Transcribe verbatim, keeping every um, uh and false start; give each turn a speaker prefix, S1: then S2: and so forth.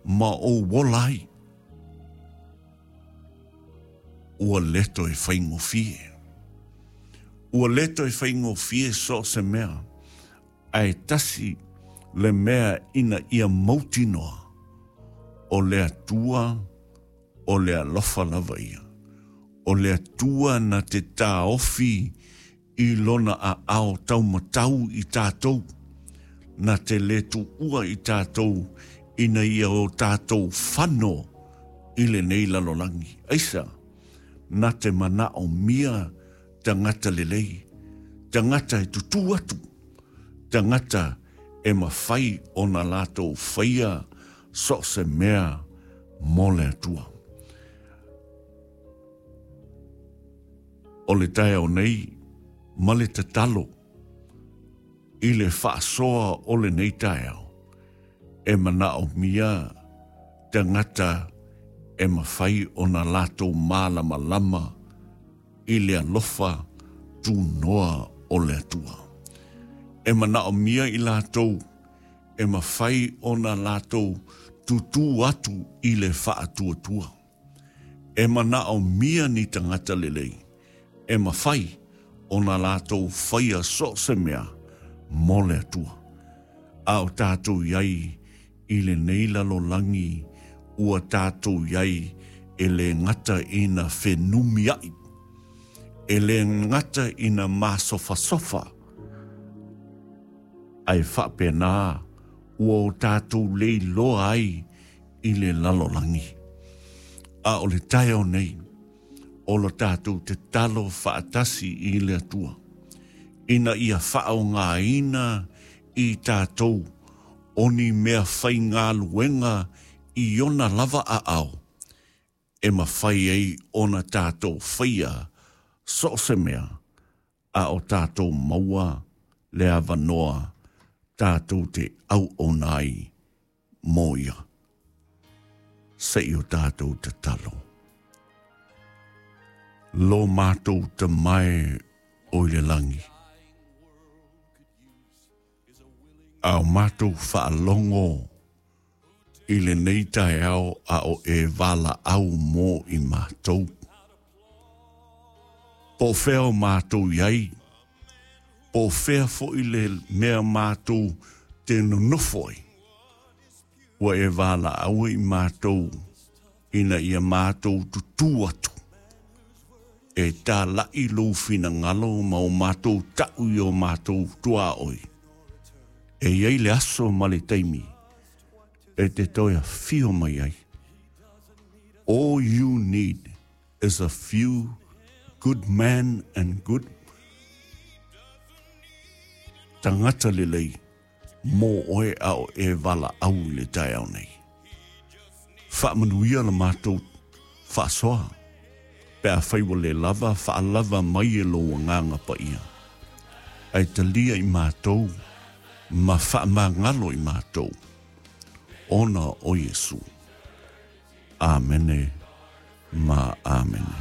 S1: Ma ou ola ai. Ua leto e faigofie. Ua leto e faigofie so o se mea. Ae tasi le mea ina ia mautinoa. O le Atua, o le alofa lava ia. O le Atua na te taofi i lona aao taumatau i tatou. Na te le tuua i tatou ina ia o tatou fano i lenei lalolagi. Aisa, na te manaomia tagata lelei, tagata e tutū atu, tagata e mafai ona latou faia so o se mea mo le Atua. O le taeao nei ma le tatalo i le faasoa o lenei taeao, e manaomia tagata e mafai ona latou malamalama i le alofa tunoa o le Atua. E manaomia i latou e mafai ona latou tutū atu i le faatuatua. E manaomia ni tagata lelei e mafai ona latou faia so o se mea mo le Atua. A o tatou iai i lenei lalolagi ua tatou iai e le gata ina fenumiai, e le gata ina masofasofa, ae faapena ua o tatou leiloa ai i le lalolagi. A o le taeao nei, o lo tatou tatalo faatasi i le Atua, ina ia faaaogaina i tatou o ni mea faigaluega i ona lava aao, e mafai ai ona tatou faia so o se mea, a o tatou maua le avanoa tatou te auauna ai mo ia. Se i o tatou tatalo. Lo matou Tama e o i le lagi. A o matou faalogo i lenei taeao a o e valaau mo i matou. Po o fea o matou iai, po o fea foi le mea matou te nonofo ai. Ua e valaau i matou ina ia matou tutū atu. E talai lou finagalo ma o matou ta'u i o matou tuaoi. E iai le aso ma le taimi e te toe afio mai ai. All you need is a few good men and good tagata lelei mo oe a o e valaau i le taeao nei. Faamanuia la matou faasoa. Pe afai ua le lava, faalava mai e lou Agaga Paia. Ae talia i matou ma faamagalo i matou. Ona o Iesu. Amene ma amene.